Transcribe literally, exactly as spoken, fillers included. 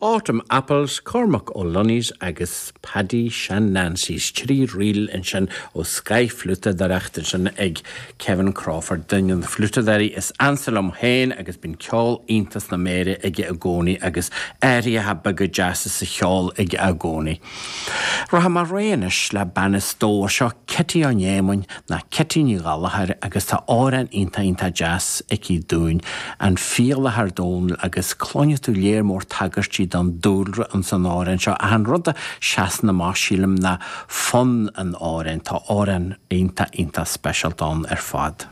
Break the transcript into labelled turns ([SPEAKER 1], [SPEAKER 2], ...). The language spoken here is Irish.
[SPEAKER 1] Autumn Apples, Cormac O'Lunney's agus Paddy Shan Nancy's trí ríl ansin ó scothfhliútadóireacht ansin ag Kevin Crawford duine de na fliútadóirí is ansa liom féin agus bíonn ceol iontach sna méara aige i gcónaí agus athruithe beaga deasa sa cheol aige i gcónaí. Rachaidh mé ar aghaidh anois le bean as Dobhar seo Cití Ó Néamáin ná Cití Ní Ghallchóir agus tá amhrán iontach iontach deas aici dúinn an Fialach ar Dónall agus cluinfidh tú léar mór tagairtí don dúlra ansan amhrán seo ach an rud a sheasann amach sílim ná fonn an amhráin tá amhrán iontach iontach speisialta ann ar fad.